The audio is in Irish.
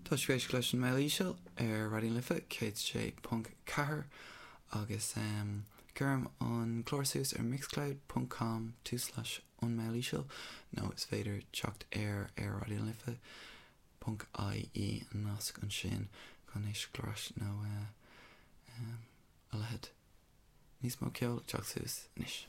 Tá sibh ag éisteacht leis an mBéal Íseal ar Raidió na Life 106.4 agus cuirim an clár suas ar mixcloud ponc com tulslais an mBéal Íseal nó is féidir teacht air ar Raidió na Life ponc ie an nasc ansin chun éisteacht ar ais nó a leithéid. Níos mó ceoil ag teacht suas anois.